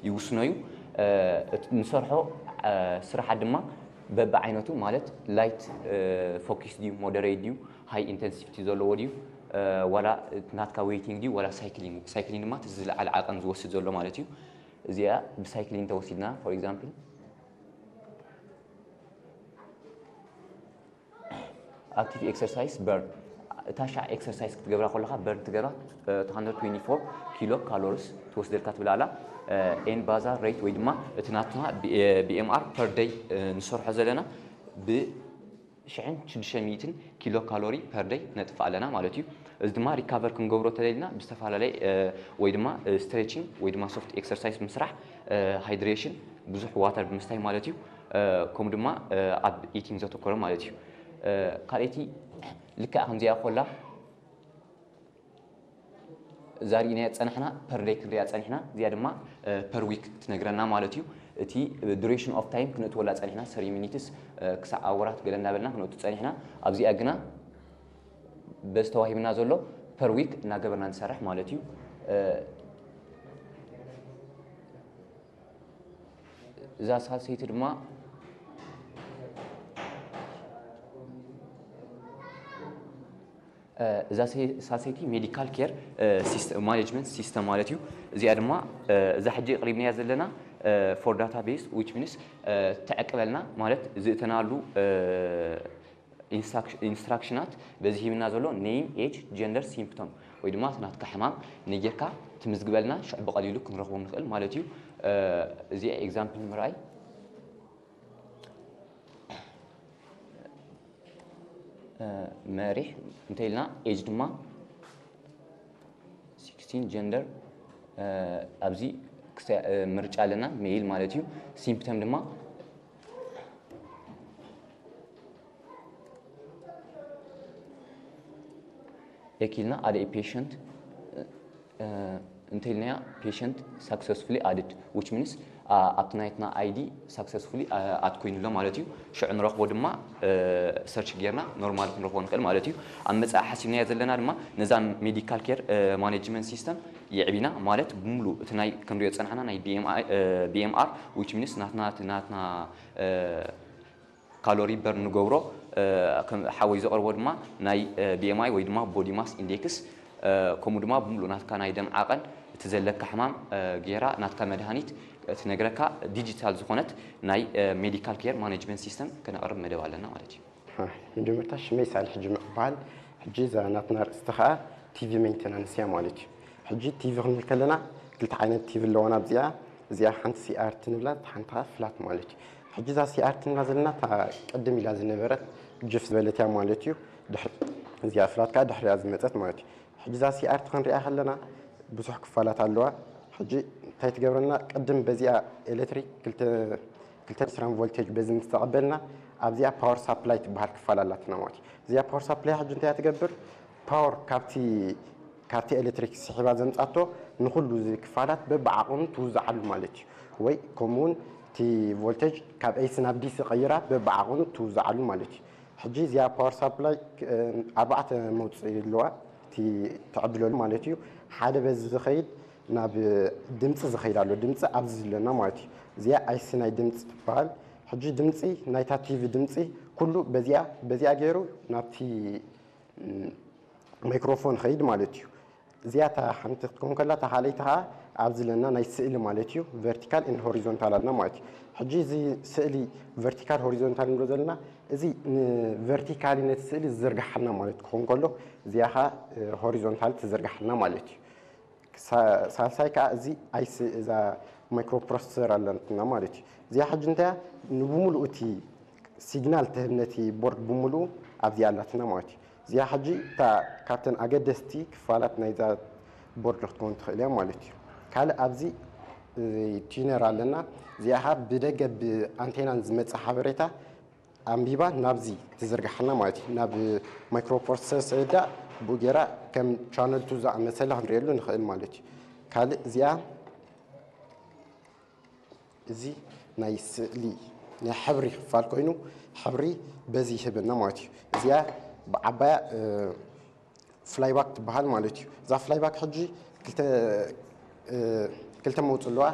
ይውስኖ እዩ። ንሰርሖ ስራሓት ድማ በብዓይነቱ፣ ማለት light focus ድዩ፣ moderate ድዩ፣ high intensity ዘለዎ ድዩ፣ ዋላ ናትካ weighting ድዩ ዋላ ሳይክሊንግ። ሳይክሊንግ ድማ እቲ ዝለዓለ ዓቐን ዝወስድ ዘሎ ማለት እዩ። እዚኣ ብሳይክሊንግ ተወሲድና፣ for example active exercise burn፣ እታ ሻዕ ኤክሰርሳይዝ ክትገብራ ከለኻ በርን ትገብራ two hundred twenty-four ኪሎ ካሎሪስ ትወስደልካ ትብል ኣላ። ኤን ባዛ ሬት ወይ ድማ እቲ ናትና BMR per day ንሰርሖ ዘለና ብ ሽሕን ሽዱሽተ ሚእትን ኪሎ ካሎሪ per day ነጥፍእ ኣለና ማለት እዩ። እዚ ድማ ሪካቨር ክንገብሮ ተደሊና ብዝተፈላለየ ወይ ድማ ስትሬቺንግ ወይ ድማ ሶፍት ኤክሰርሳይዝ ምስራሕ፣ ሃይድሬሽን ብዙሕ ዋተር ብምስታይ ማለት እዩ። ከምኡ ድማ ኣብ ኢቲንግ ዘተኮረ ማለት እዩ። ካልኣይቲ ልክዕ ከምዚኣ ኮላ እዛ ርኢናያ ጸናሕና per day ክንሪኣ ጸኒሕና፣ እዚኣ ድማ per week ትነግረና ማለት እዩ። እቲ duration of time ክነእትወላ ጸኒሕና thirty minutes ክሳዕ ኣወራት ገለ እናበልና ክነእቱ ጸኒሕና። ኣብዚኣ ግና በዚ ተዋሂብና ዘሎ per week እናገበርና ንሰርሕ ማለት እዩ። እዛ ሳልሰይቲ ድማ እዛ ሳልሰይቲ ሜዲካል ኬር ማኔጅመንት ሲስተም ማለት እዩ። እዚኣ ድማ እዛ ሕጂ ቅሪብናያ ዘለና for database which means ተዕቅበልና ማለት ዝእተናሉ ኢንስትራክሽናት በዚ ሂብና ዘሎ name, age, gender, symptom ወይ ድማ እቲ ናትካ ሕማም ነጊርካ ትምዝግበልና ሽዑ ብቐሊሉ ክንረኽቦም ንኽእል ማለት እዩ። እዚኣ ኤግዛምፕል ንምርኣይ መሪሕ እንተ ኢልና ኤጅ ድማ sixteen፣ ጀንደር ኣብዚ ምርጫ ኣለና፣ ሜይል ማለት እዩ። ሲምፕተም ድማ ኤኪልና ኣደ ፔሸንት እንተኢልናያ patient successfully added which means ኣብቲ ናይትና ID successfully ኣድ ኮይኑሎ ማለት እዩ። ሽዑ ንረኽቦ ድማ ሰርች ጌርና ኖርማል ክንረኽቦ ንኽእል ማለት እዩ። ኣብ መጻኢ ሓሲብናዮ ዘለና ድማ ነዛ ሜዲካል ኬር ማኔጅመንት ሲስተም የዕቢና ማለት ብምሉእ እቲ ናይ ክንሪኦ ዝጸናሕና ናይ BMR which means ናትና ናትና ካሎሪ በርን ንገብሮ። ሓወይ ዘቕርቦ ድማ ናይ BMI ወይ ድማ ቦዲ ማስ ኢንዴክስ ከምኡ ድማ ብምሉእ ናትካ ናይ ደም ዓቐን እቲ ዘለካ ሕማም ጌራ ናትካ መድሃኒት ትነግረካ ዲጂታል ዝኾነት ናይ ሜዲካል ኬር ማኔጅመንት ሲስተም ከነቕርብ መደብ ኣለና ማለት እዩ። መጀመርታ ሽመይ ሳልሕ ጅምዕ ይበሃል። ሕጂ እዛ ናትና ርእስቲ ከዓ ቲቪ ሜንቴናንስ እያ ማለት እዩ። ሕጂ ቲቪ ክንብል ከለና ክልተ ዓይነት ቲቪ ኣለዋና ኣብዚኣ። እዚኣ ሓንቲ CRT ንብላ፣ ሓንቲ ከዓ ፍላት ማለት እዩ። ሕጂ እዛ CRT ንብላ ዘለና እታ ቅድም ኢላ ዝነበረት ጅፍ ዝበለት እያ ማለት እዩ። ድሕሪ እዚኣ ፍላት ከዓ ድሕሪኣ ዝመፀት ማለት እዩ። ሕጂ እዛ CRT ክንሪኣ ከለና ብዙሕ ክፋላት ኣለዋ። ሕጂ እንታይ ትገብረና? ቅድም በዚኣ ኤሌክትሪክ ክልተ ክልተ ስትራም ቮልቴጅ በዚ ምስ ተቐበልና ኣብዚኣ ፓወር ሳፕላይ ትበሃል ክፋል ኣላትና ማለት እዩ። እዚኣ ፓወር ሳፕላይ ሕጂ እንታይ እያ ትገብር? ፓወር ካብቲ ካብቲ ኤሌክትሪክ ስሒባ ዘምጻቶ ንኹሉ እዚ ክፋላት በብዓቕኑ ትውዝዓሉ ማለት እዩ። ወይ ከምኡ እውን እቲ ቮልቴጅ ካብ ኤሲ ናብ ዲሲ ቀይራ በብዓቕኑ ትውዝዓሉ ማለት እዩ። ሕጂ እዚኣ ፓወር ሳፕላይ ኣርባዕተ መውፅኢ ኣለዋ። እቲ ትዕድለሉ ማለት እዩ። ሓደ በዚ ዝኸይድ ናብ ድምፂ ዝኸይድ ኣሎ። ድምፂ ኣብዚ ዘለና ማለት እዩ። እዚኣ ኣይሲ ናይ ድምፂ ትበሃል። ሕጂ ድምፂ ናይታ ቲቪ ድምፂ ኩሉ በዚኣ በዚኣ ገይሩ ናብቲ ማይክሮፎን ኸይድ ማለት እዩ። እዚኣ እታ ሓንቲ ክትከውን ከላ እታ ካልኣይቲ ከዓ ኣብዚ ዘለና ናይ ስእሊ ማለት እዩ። ቨርቲካል ን ሆሪዞንታል ኣለና ማለት እዩ። ሕጂ እዚ ስእሊ ቨርቲካል ሆሪዞንታል ንብሎ ዘለና እዚ ንቨርቲካሊ ነቲ ስእሊ ዝዝርግሓልና ማለት ክኸውን ከሎ እዚኣ ከዓ ሆሪዞንታል ትዝርግሓልና ማለት እዩ። ሳልሳይ ከዓ እዚ ኣይሲ እዛ ማይክሮፕሮሰሰር ኣለትና ማለት እዩ። እዚኣ ሕጂ እንታይ እያ? ንብሙሉኡ እቲ ሲግናል ትህብ ነቲ ቦርድ ብሙሉኡ ኣብዚኣ ኣላትና ማለት እዩ። እዚኣ ሕጂ እታ ካብተን ኣገደስቲ ክፋላት ናይዛ ቦርድ ክትከውን ትኽእል እያ ማለት እዩ። ካልእ ኣብዚ ቲነር ኣለና። እዚኣ ከዓ ብደገ ብኣንቴናን ዝመፅእ ሓበሬታ ኣንቢባ ናብዚ ትዝርግሓና ማለት እዩ። ናብ ማይክሮፕሮሰሰር ሰዳ ብኡ ገይራ ከም ቻነል ቱ ዝኣመሰለ ክንሪኤሉ ንኽእል ማለት እዩ። ካልእ እዚኣ እዚ ናይ ስእሊ ናይ ሕብሪ ክፋል ኮይኑ ሕብሪ በዚ ይህበና ማለት እዩ። እዚኣ ብዓባያ ፍላይባክ ትበሃል ማለት እዩ። እዛ ፍላይባክ ሕጂ ክልተ መውፅእ ኣለዋ።